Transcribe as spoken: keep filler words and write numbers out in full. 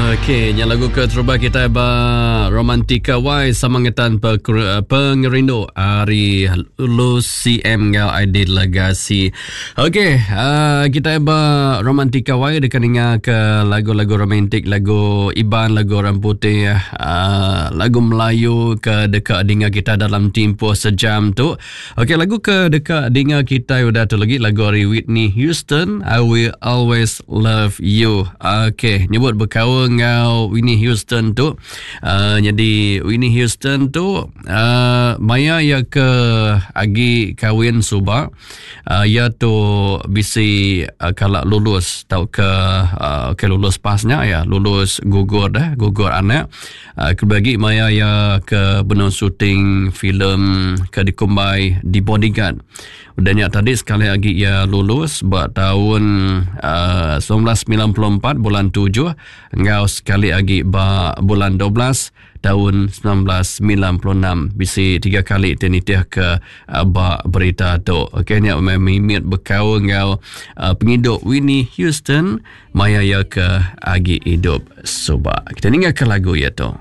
Okey, nya lagu ke terubah kita ba Romantika Y sama ngetan pengerindu ari Lucy M ngau Aidil Legasi. Okey, uh, kita ba Romantika Y dekat ninga ke lagu-lagu romantik, lagu Iban, lagu orang putih, uh, lagu Melayu ke dekat dengar kita dalam tempoh sejam tu. Okey, lagu ke dekat dengar kita udah tu lagi lagu dari Whitney Houston, I Will Always Love You. Okey, nyebut berkaul ngau Whitney Houston tu. Uh, jadi Whitney Houston tu uh, maya ya ke agi kawin suba, uh, ya tu bisi uh, kalak lulus tau ke uh, ke lulus pasnya ya, lulus gugur dah, gugur anak. Uh, kebagi maya ya ke benung syuting filem ke dikumbai di Bodyguard. Dan yang tadi sekali lagi ia lulus buat tahun uh, sembilan belas sembilan puluh empat bulan tujuh, ngau sekali lagi ba bulan dua belas tahun sembilan belas sembilan puluh enam. Bisi tiga kali tenitiah ke uh, ba berita tu. Okey, ni mimit bekau ngau uh, penghidup Whitney Houston maya ia ke agi hidup suba. Kita dengar ke lagu ia tu.